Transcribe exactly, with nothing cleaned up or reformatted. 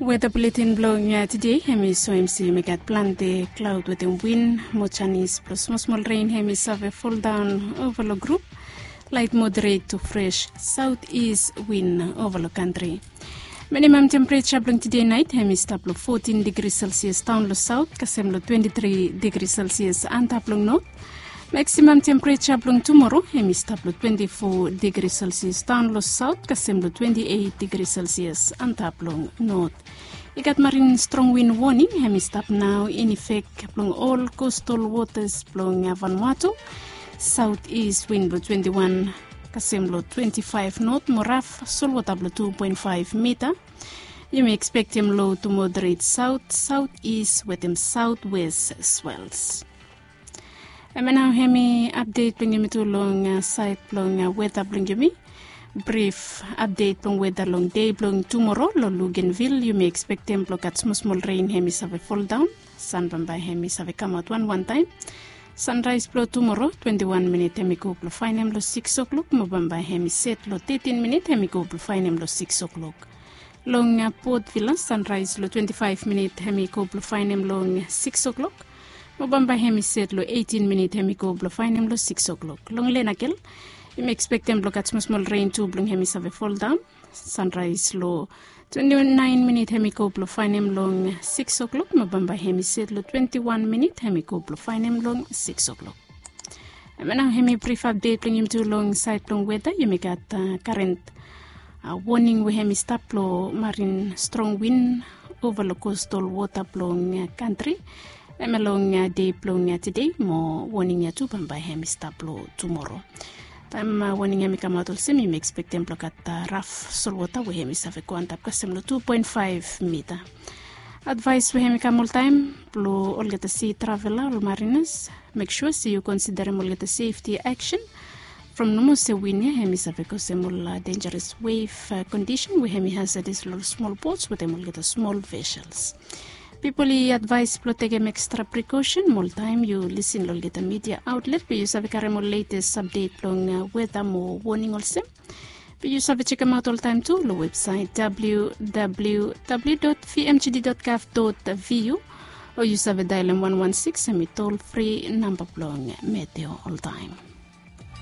Weta buletin blong tede hem i soem se yumi gat plante klaod wetem win mo janis blong smosmol ren hem i save foldaon ova long grup. Lait moderet tu fres saot is win ova long kantri. Minimam tempereja blong tede nait hem i stap long fotin digri selsias daon long saot kasem long twenti tri digri selsias antap long not. Maksimam tempereja blong tumoro hem i stap long twenti fo digri selsias daon long saot kasem long twenti eit digri selsias antap long not. I gat marin strong win woning hem i stap nao in efek blong ol kostal wotas blong Vanuatu. Saot is win blong twenti wan kasem long twenti faef not mo raf solwota blong tu poen faef mita. Yumi ekspektem lo tu moderet saot saot is wetem saot wes swels. Em nao hem i apdet blong yumi tu long saed blong weta blong yumi. Brif apdet blong weta long dei blong tumoro long Lugenvil yumi ekspektem blong gat smosmol ren hem i save foldaon. San bambae hem i save kamaot wanwan taem. Sanraes blong tumoro twenti wan minit hem i go blong faenem long sikis oklok mo bambae hem i set long tetin minit hem i go blong faenem long sikis oklok. Long Port Vila sanraes long twenti faef minit hem i go blong faenem long sikis oklok. Mo bambae hem i set long eitin minit hem i go blong faenem long sikis oklok. Long Lenakel yumi ekspektem blong gat smosmol ren tu blong hem i save foldaon. Sanraes long twenti naen minit hem i go blong faenem long sikis oklok mo bambae hem i set long twenti wan minit hem i go blong faenem long sikis oklok. Em nao hem i brif apdet blong yumi tu long saed blong weta yumi gat karen woning we hem i stap long marin strong win ova long kostal wota blong kantri. Em long dei blong tede mo woning ya tu bambae hem i stap long tumoro. Taem woning hem i kamaot olsem yumi ekspektem blong gat raf solwota we hem i save go antap kasem long tu poen faef mita. Advaes we hem i kam oltaem blong olgeta si travela ol marinas, mek sua se yu konsiderem olgeta sefti aksen. From nomo se win ya hem i save kosem ol denjaras wef kondisen we hem i hasadas long ol smol bots wetem olgeta smol vesels. Pipol i advaes blong tekem ekstra prikosen mo oltaem yu lisin long olgeta midia aotlet blong yu save karem ol letes apdet blong weta mo woning olsem. Be yu save jekemaot oltaem tu long websaet www.vmgd.gov.vu o yu save daelem wan wan sikis hem i tol fri namba blong meteo oltaem.